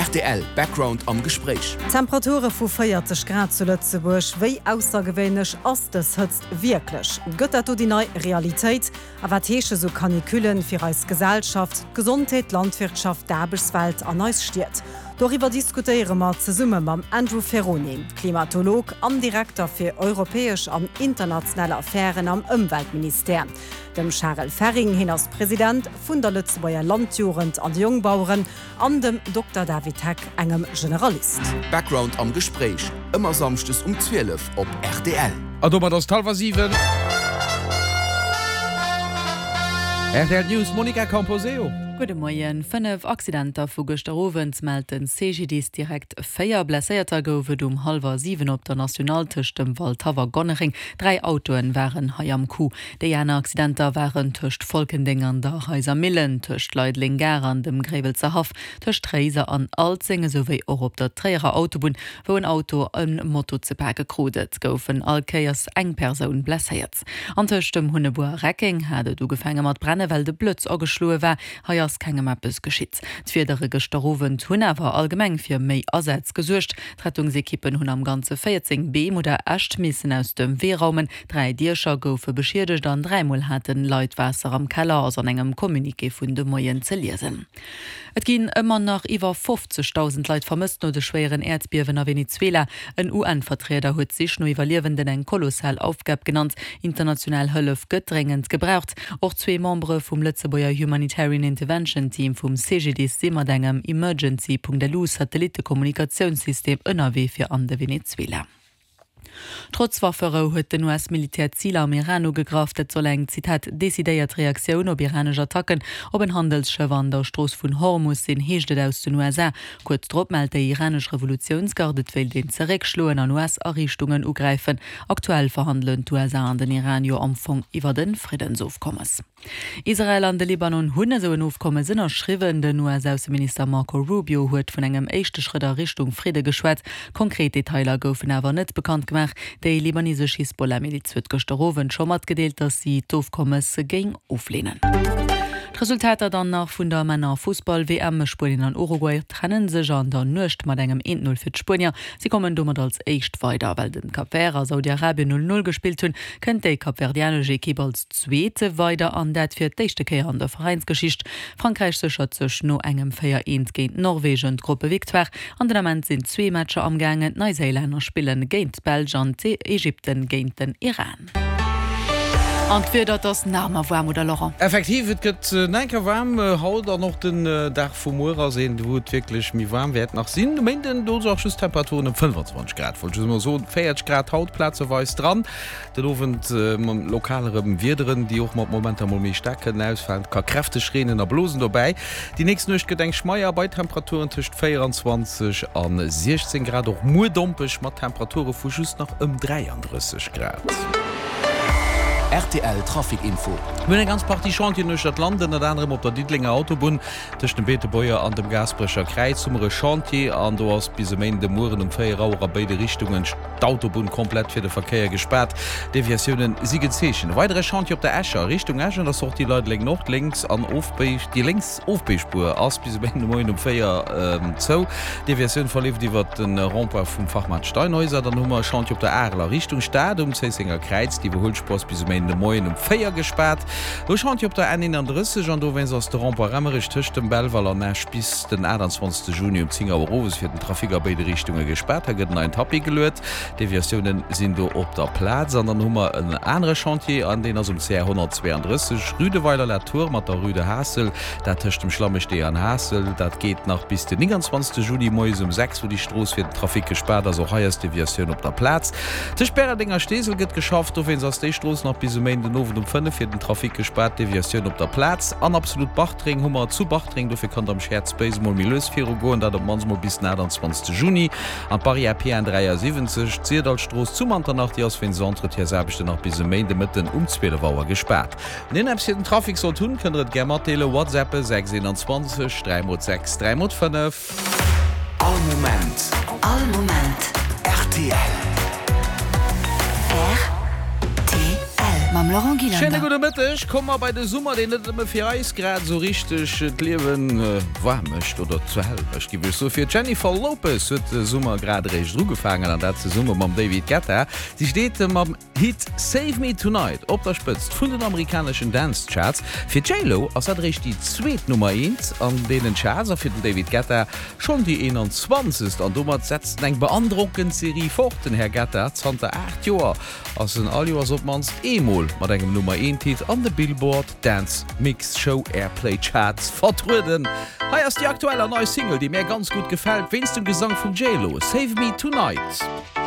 Rtl Background am Gespréich. Temperature vu 40 Grad zu Lëtzebuerg, wéi aussergewéinlech ass dës Hëtzt wierklech? Gëtt dat do déi nei Realitéit? A wat heesche sou Canicullen fir eis Gesellschaft, d'Gesondheet, d'Landwirtschaft, d'Aarbechtswelt an eis Stied? Doriwwer diskutéiere mer zesumme mam Andrew Ferrone, Klimatolog an Direkter fir europäesch an international Affären am Ëmweltministère, dem Charel Ferring, hien ass President vun der Lëtzebuerger Landjugend an de Jongbaueren, an dem Dokter David Heck, engem Generalist. Background am Gespréich, ëmmer samschdes um 12 op rtl. A domat ass et hallwer 7. Rtl News, Monica Camposeo. Gudde Moien. 5 Accidenter vu gëschter Owend mellt den CGDIS direkt. 4 Blesséierter gouf et um hallwer 7 op der Nationale tëscht dem Waldhaff a Gonnereng. 3 Autoen waren hei am Coup. Déi aner Accidenter waren tëscht Folkendeng an der Reiser Millen, tëscht Leideleng Gare an dem Gréiwelzer Haff, tëscht Réiser an Alzeng esouwéi och op der Tréierer Autobunn, wou en Auto e Moto ze pake krut. Et goufen all Kéiers eng Persoun blesséiert. An tëscht dem Hunnebuer a Reckeng hat et ugefaange mat brenne well de Blëtz ageschloe war. Hei ass kengem eppes geschitt. D'Wiedere gëschter Owend hunn awer allgemeng fir méi Asätz gesuergt. D'Rettungsekippen hunn am Ganze 14 Beem oder Äscht missen aus dem Wee raumen. 3 Diecher goufe beschiedegt an dräimol haten Leit Waasser am Keller, ass an engem Communiqué vun de Moien ze liesen. Et ginn ëmmer nach iwwer 50.000 Leit vermësst no de schwéieren Äerdbiewen a Venezuela. En UN-Vertrieder huet d'Sich no Iwwerliewenden eng kolossal Aufgab genannt. International Hëllef gëtt dréngend gebraucht. Och zwee Membere vum Lëtzebuerger Humanitarian Intervention Team vum CGDIS si mat engem Emergency.lu Satellittekommunikatiounssystem ënnerwee fir an de Venezuela. Trotz Wafferou huet den US-Militär Ziler am Iran ugegraff. Dat soll eng, Zitat, decidéiert Reaktioun op iranesch Attacken op en Handelsschëff an der Strooss vun Hormus sinn, heescht et aus den USA. Kuerz drop mellt déi iranesch Revolutiounsgarde, et wéilt een zeréckschloen an US-Ariichtungen ugräifen. Aktuell verhandelen d'USA an den Iran jo am Fong iwwert e Friddensofkommes. Israel an de Libanon hunn esou en Ofkommes ënnerschriwwen. Den US-Ausseminister Marco Rubio huet vun engem éischte Schrëtt a Richtung Fridde geschwat. Konkret Detailer goufen awer net bekannt gemaach. Déi libanesesch Hisbollah-Miliz huet gëschter Owend scho matgedeelt, datt si d'Ofkommes géing ofleenen. D'Resultater dann nach vun der Männer-Fussball-WM, Spuenien an Uruguay trenne sech an der Nuecht mat engem 1, 0 fir d'Spuenier. Si kommen domat als éischt weider. Well den Cap Vert a Saudi-Arabien 0, 0 gespillt hunn, kënnt déi kapverdianesch Ekipp als Zweete weider an dat fir d'éischte Kéier an der Veräinsgeschicht. Frankräich séchert sech no engem 4, 1 géint Norwegen d'Gruppevictoire. An den Ament sinn zwee Matcher amgaangen, D'Neiséilänner spillen géint d'Belsch an d'Ägypten géint den Iran. An d'Wieder, et ass nach ëmmer waarm, oder Laurent? Effektiv, et gëtt nach eng Kéier waarm haut an och den Dag vu muer ass een, wou et wierklech méi waarm wäert nach sinn. De Méinden, do si och just Temperaturen ëm 25 Grad, wollt just emol soen, 40 Grad haut plazeweis dran. Den Owend lokal erëm Wiederen, déi och mat Momenter mol méi staark kënnen ausfalen. Et ka kräfteg reenen a blosen dobäi. Déi nächst Nuecht gëtt eng schmeier bei Temperaturen tëscht 24 a 16 Grad. Och muer dompeg mat Temperature vu just nach ëm 33 Grad. Rtl Trafic Info. Mir hunn eng ganz Partie Chantieren uechter d'Land, ënnert anerem op der Diddelenger Autobunn tëscht dem Beetebuerger an dem Gaasperecher Kräiz hu mer e Chantier an do ass bis e Méinden de Mueren um 4 Auer a béide Richtungen d'Autobunn komplett fir de Verkéier gespaart. Deviatiounen si gezeechent. E weidere Chantier op der Escher, Richtung Esch an der Sortie Leideleng Nord, lénks an Ofbéig, déi lénks Ofbéigspuer ass bis e Méinden de Moien um 4 zou. D'Deviatioun verleeft iwwert de Rond-point vum Fachmaart Steinhäuser. Dann hu mer e Chantier op der Arel a Richtung Stad um Zéissenger Kräiz. Déi Iwwerhuelspuer ass bis e Méinden de Moien um 4 gespaart. E Chantier op der N 31 an dowéinst ass de Rond-point Remmerech tëscht dem Belval an Esch bis den 28 Juni um 10 Auer owes fir den Trafic a béide Richtunge gespaart. Hei gëtt en neien Tapis geluet. Deviatioune sinn do op der Plaz. An dann hu mer en anere Chantier an deen ass um CR 132, Rue de Weiler-la-Tour mat der Rue de Haassel, dat tëscht dem Schlammestee an Haassel. Dat geet nach bis den 29 Juni moies um 6, wou déi Strooss fir den Trafic gespaart ass. Och hei ass d'Deviatioun op der Plaz. Tëscht Bäreldeng a Steesel gëtt geschafft. Dowéinst ass déi Strooss nach bis e Méinden Owend um 5 fir den Trafic gespaart. Deviatioun op der Plaz. An absolut Bartreng hu mer zu Bartreng. Dofir kann et am Shared Space emol méi lues viru goen, dat op d'mannst mol bis den 28 Juni. An d'Barrière PN 73, d'Syrdallstrooss zu Manternach, déi ass wéinst Entretiensaarbechten nach bis e Méinde Mëtten um 12 Auer gespaart. Wann een eppes fir den Trafic sollt hunn, kënnt der et gär matdeelen. WhatsAppe 6 21 3 mol 6 3 mol 5. All Moment. All Moment. Rtl. Rtl. Mam. Mam Laurent Gillander. Schéine gudde Mëtteg. Komme mer bei de Summer, deen net nëmme fir eis grad esou richteg d'Liewe waarm mécht oder zur Hell mécht, giff ech soen. Fir d'Jennifer Lopez huet de Summer grad eréischt ugefaangen an dat zesumme mam David Guetta. Si steet mam Hit Save Me Tonight op der Spëtzt vun den amerikaneschen Dance Charts. Fir d'J-Lo ass dat eréischt déi zweet Nummer eent an deenen Charts a fir den David Guetta schonn déi 21. An domat setzt en eng beandrockend Serie fort, den Här Guetta zanter 8 Joer ass en all Joers op d'mannst eemol mat engem Nummer eent Hit an de Billboard Dance Mix Show Airplay Charts vertrueden. Hei ass déi aktuell an nei Single, déi mär ganz gutt gefält wéinst dem Gesang vum J-Lo, Save Me Tonight.